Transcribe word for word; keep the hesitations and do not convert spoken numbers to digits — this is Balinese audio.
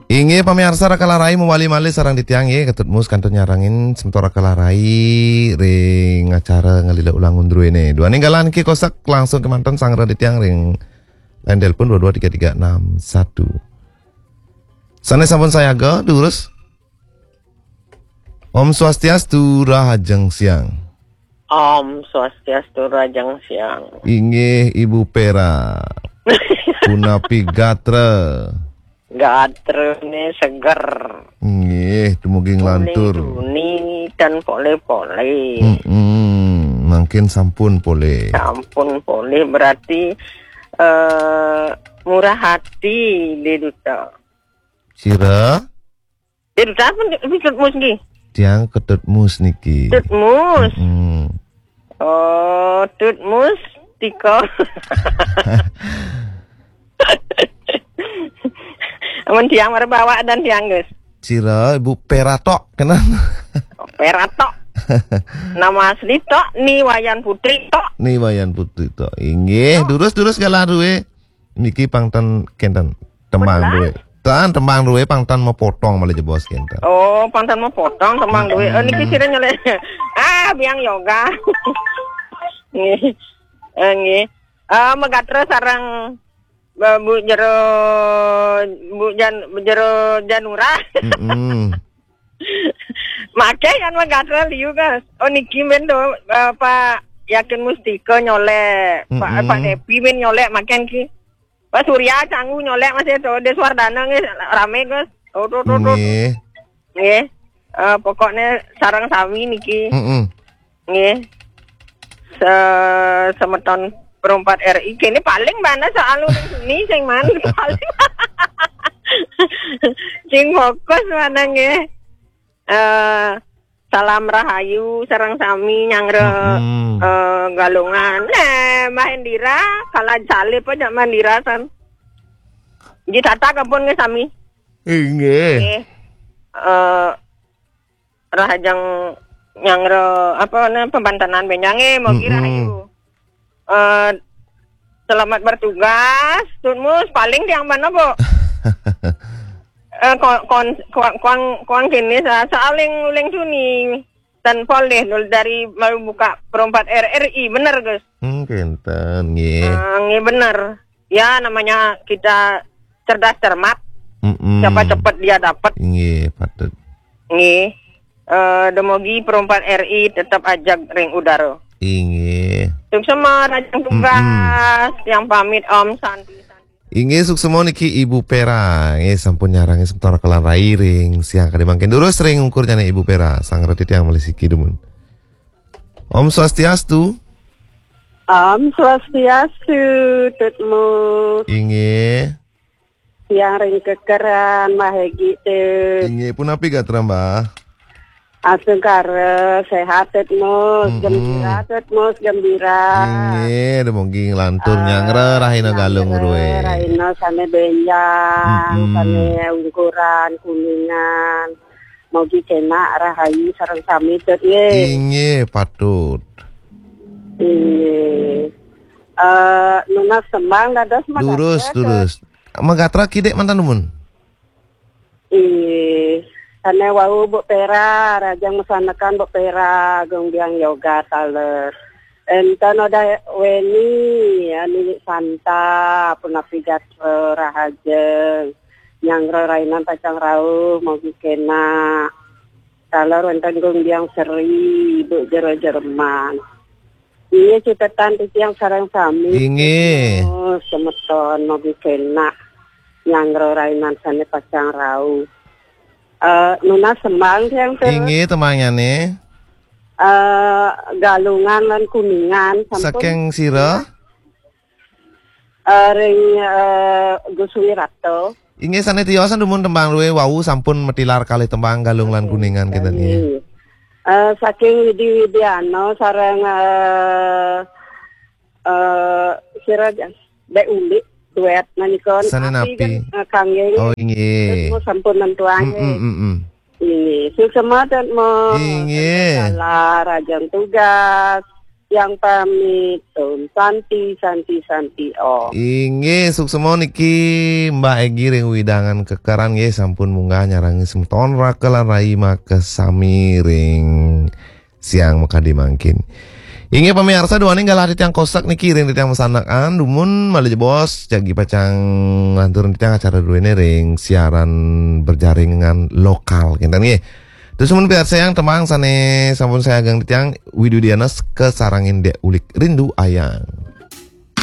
Inggih pamiarsa, Raka Larai mawali malih sareng titiang nggih, Ketut Mus kantun nyarengin semeton Raka Larai ring acara nglilih ulang undruene. Duaning galah niki kosek langsung kemanten sareng titiang ring line telepon dua dua tiga tiga enam satu. Sane sampun sayaga, durus. Om Swastiastu, Rahajeng Siang. Om Swastiastu, Rahajeng Siang. Inggih Ibu Pera. Punapi gatra? Gatrane seger. Nggih, dumugi nglantur. Tuni dan pole-pole. Mm-mm, mangkin sampun pole. Sampun pole berarti eh murah hati di duta. Sira? Di duta pun di Tut Mus nggih. Tiang Ketut Mus niki. Tut Mus. Mm-mm. Oh, Tut Mus tika. Amun tiang mara bawa dan tiang, Gus. Sira Ibu Pera tok, kena. Pera tok. Nama asli tok, Ni Wayan Putri tok. Ni Wayan Putri tok. Inggih, durus-durus galah duwe. Niki pang ten kenten tembang duwe. Tan tembang duwe pang ten mapotong malih jebos kenten. Oh, pang ten mapotong tembang duwe. Eh, niki sira nyelek. Ah, biang yoga. Nggih. Eh, nggih. Eh, magatra sareng eh, Bu Jero, Bu Jan, Bu Jero Janura. Mm-mm. Make kan magatra liu, Gus. Oh, niki men do, eh, Pak Yakin Mustika nyolek, Pak, Mm-mm. Pak Depi men nyolek, make niki. Pak Surya Canggu nyolek masih to, Deswardana nggih rame, Gus. Oh, to, to, to. Nggih. Nggih. Eh, pokoknya sareng sami niki. Mm-mm. Nggih. Se-, semeton perempat R I kene paling mana soal uling seni sing man paling. Sing fokus mana nggih. Eh, salam rahayu sareng sami nyanggra, Mm-mm. Eh, Galungan. Nah, Mbah Indira, kala salib aja Mbah Indira san. Ji tata kebun nggih sami. Inggih. Nggih. Eh, rahajeng nyanggra apa nih pembantanan benjange mogi Mm-mm. Rahayu. Eh, selamat bertugas, Tut Mus. Paling tiang mana, Bu? Eh, kon kon kon kon kon kene sa saling uling suni. Dan polih dulu dari mau buka perempat R R I, bener, Gus? Hmm, kenten, nggih. Ah, nggih, bener. Ya, namanya kita cerdas cermat. Mm-mm. Siapa cepet dia dapat. Nggih, patut. Nggih. Eh, demogi perempat R I tetap ajak ring udara. Inggih. Suksma, rajang tugas. Mm-mm. Yang pamit, Om Santi. Inggih, suksma niki Ibu Pera. Nggih, sampun nyarengin semeton Raka Larai ring siang kadi mangkin. Durus ring ungkur jane Ibu Pera. Sang reti tiang malih siki dumun. Om Swastiastu. Om Swastiastu, Tut Mus. Inggih. Tiang ring kekeran, Mbah Hegi, Tut. Inggih, punapi gatra, Mbah? Asungkara, sehat, Tut Mus. Mm-mm. Gembira, Tut Mus, gembira. Inggih, dumugi nglantur. Ah, nyanggra rahina Galung nyanggra ruwe. Rahina sane benjang, mm-mm, sane ungkuran, kuningan. Mugi kenak rahayu sareng sami, Tut, nggih. Inggih, patut. Inggih. Eh, nunas tembang dados magatra, durus, Tut. Durus. Magatra kidik mantan dumun. Inggih. Sane wau Bu Pera, rajang masanekan Bu Pera, Agung Biang Yoga taler. Enten Odah Weni, ya, Nini Santa, punapi gatra rahajeng. Nyanggra rainan pacang rauh, mugi kenak. Taler wenten Gung Biang Seri, Bu Jero Jerman. Inggih, cutetan titiang sareng sami. Inggih. Oh, semeton, mugi kenak. Nyanggra rainan sane pacang rauh. Eh, nunas tembang tiang, Tut. Inggih, tembangnyane. Eh, Galungan lan Kuningan, sampun. Saking sira? Eh, ring, eh, Gus Wirata. Inggih, sane tiosan dumun tembang ruwe wau sampun matilar kalih tembang Galung lan Kuningan kita nggih. Inggih. Eh, saking Widi Widiana sareng, eh, eh, sira Dek Ulik duet menika. Sane napi? Kan, eh, kangge. Oh, inggih. Terus sampun nentuange. Mm, mm, mm, mm. Inggih, suksma, Tut Mus. Inggih. Salah rajang tugas. Tiang pamit, Om Santi, Santi, Santi, Om. Inggih, suksma niki Mbak Egi ring wewidangan Kekeran nggih, sampun munggah nyarengan semeton Raka lan Rai makasami ring siang makadi mangkin. Inggih pamiarsa, duaning galah titiang kosek niki ring titiang masandekan, dumun malih jebos jagi pacang nglantur titiang acara duene ring siaran berjaringan lokal kinten nggih. Terus mun piarsayang tembang sane sampun sayagang titiang, Widudiana kasarengin Dek Ulik, Rindu Ayang.